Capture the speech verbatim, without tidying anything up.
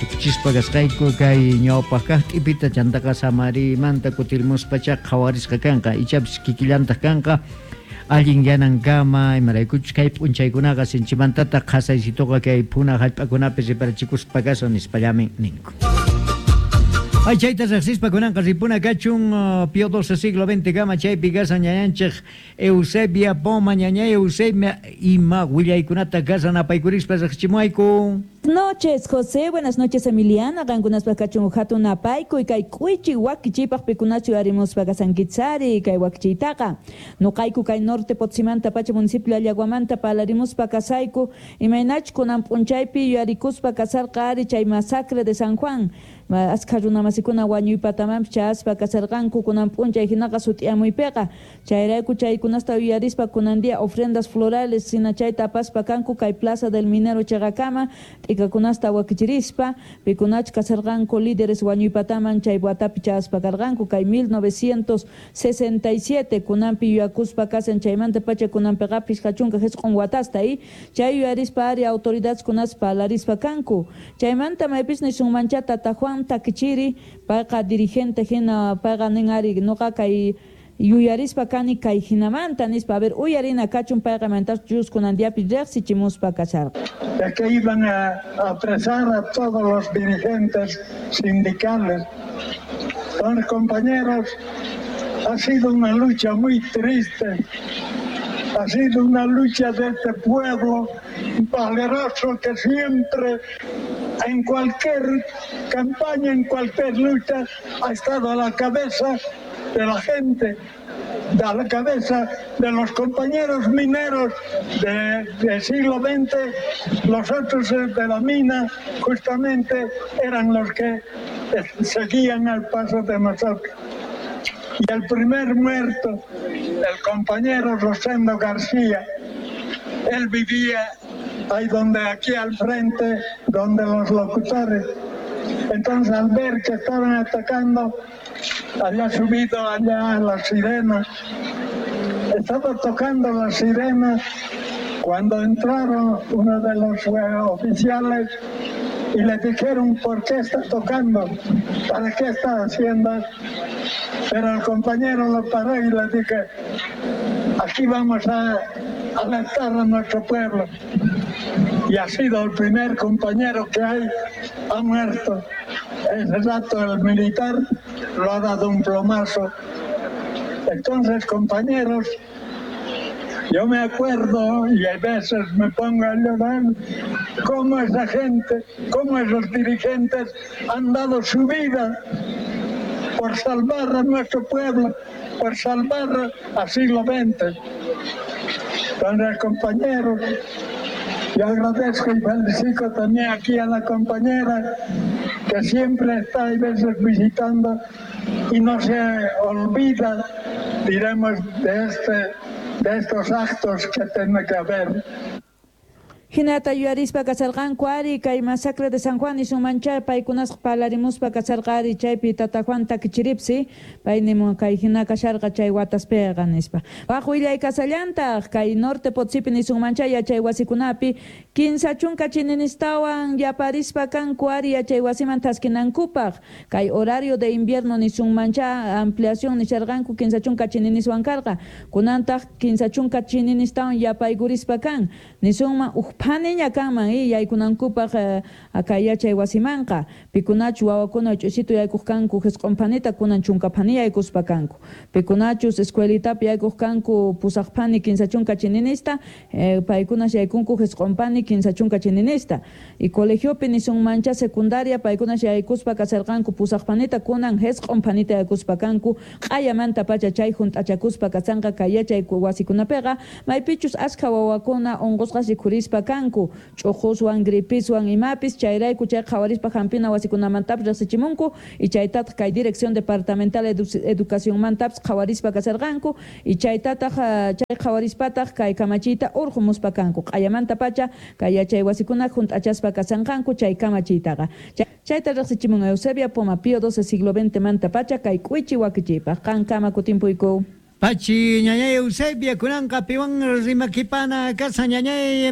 Tukuchispa kasqayku kay ñawpaq kaq t'ipita chantaqa samarimanta kutirmuspacha qhawarisqa kanqa ichapis kikillantaq kanqa allin yanankama imaraykuchus kay p'unchaykunaqa sinchimantataq qhasaysituqa kay puna hallp'akunapi riparachikuspa kashan nispallamin ninku. Ay, chayta riqsispa kunanqa ripuna kachun Pío doce siglo veinte kama chaypi kashan ñañanchik Eusebia Poma ñañay Eusebia ima willaykunata kashan apaykurispa riqsichimuayku. Noches, José, buenas noches, Emiliana, qankunaspaq kachun hatun apaykuy kay k'uychi wakichiypaq pikunachu arimuspa kasankichari kay wakichiytaqa nuqayku kay norte Potosímanta pacha municipio Allaguamanta palarimuspa kasayku imaynachu kunan p'unchaypi yuyarikuspa kasarqa ari chay masacre de San Juan askha runamasikuna wañuypatamanpis chayaspa kasarqanku kunan p'unchay hinaqa sut'iyamuypiqa chayrayku chaykunasta yuyarispa kunan día ofrendas florales hina chayta apaspa kanku kay Plaza del Minero chayqakama t'ikakunasta wakichirispa pikunachu kasarqanku líderes wañuypataman chay watapi chayaspa karqanku kay mil novecientos sesenta y siete kunanpi yuyakuspa kasan chaymanta pacha kunanpiqa phishqa chunka hisq'un watasta y chay yuyarispa ari autoridades kunaspa palarispa kanku chaymanta maypis nisunmancha tata Juan Takichiri payqa dirigente hina payqa nin ari nuqa kay yuyarispa kani kay hinamanta nispa a ver uyarina kachun payqa mantas kunan diapi riqsichimuspa kasharqa. De que iban a apresar a todos los dirigentes sindicales. Entonces, compañeros, ha sido una lucha muy triste, ha sido una lucha de este pueblo valeroso que siempre, en cualquier campaña, en cualquier lucha, ha estado a la cabeza de la gente, a la cabeza de los compañeros mineros de, del siglo veinte, los otros de la mina justamente eran los que seguían al paso de nosotros. Y el primer muerto, el compañero Rosendo García, él vivía ahí donde, aquí al frente, donde los locutores. Entonces, al ver que estaban atacando, había subido allá a las sirenas. Estaba tocando las sirenas cuando entraron uno de los oficiales y le dijeron, ¿por qué está tocando? ¿Para qué está haciendo? Pero el compañero lo paró y le dije, aquí vamos a alertar a nuestro pueblo. Y ha sido el primer compañero que hay, ha muerto. Ese rato el militar lo ha dado un plomazo. Entonces, compañeros, yo me acuerdo y a veces me pongo a llorar cómo esa gente, cómo esos dirigentes han dado su vida por salvar a nuestro pueblo, por salvar al siglo veinte. Entonces, compañeros, yo agradezco y felicito también aquí a la compañera que siempre está a veces visitando y no se olvida, diremos, de este, de estos actos que tiene que haber. Hinata yuyarispa kasarqanku ari kay masacre de San Juan nisunmancha paykunasqa palarimuspa kasarqa ari chaypi tata Juan Takichiripsi pay nimun kay hina kasharqa chay wataspiqa nispa. Waq willay kasallantaq kay norte Potosipi nisunmancha yachay wasikunapi kinsa chunka chininistawan yaparispa kanku ari yachay wasiman taskinankupaq kay horario de invierno nisunmancha ampliación nisharqanku kinsa chunka chininiswan karqa kunantaq kinsa chunka chininistawan yapaykurispa kan nisunman uj phaniña kanman y yaykunankupaq kay yachay wasimanqa pikunachu wawakuna ch'usitu yaykuq kanku hisq'un phanita kunan chunka phani yaykuspa kanku pikunachus escuelitapi yaykuq kanku pusaq phani kinsa chunka chininista paykunas yaykunku hisq'un phani kinsa chunka chininista y colegiopi nisunmancha secundaria paykunas yaykuspa kasarqanku pusaq phanita kunan hisq'un phanita yaykuspa kanku q'ayamanta pacha chay hunt'achakuspa kasanqa kay yachay wasikunapiqa maypichus askha wawakuna unqusqas rikhurispa kanku ch'uquswan gripiswan imapis chayrayku chay qhawarispa hampina wasikunamantapis riqsichimunku y chaytataq kay dirección departamental educacionmantapis qhawarispa kasarqanku y chaytataq chay qhawarispataq kay kamachiyta urqumuspa kanku q'ayamanta pacha kay yachay wasikuna hunt'achaspa kasanqanku chay kamachiytaqa chayta riqsichimun Eusebia Poma Pío doce siglo veinte manta pacha kay k'uychi wakichiypaq qankama kutimpuyku. Pachi ñañay Eusebia kunanqa piwan rimakipana kasa ñañay.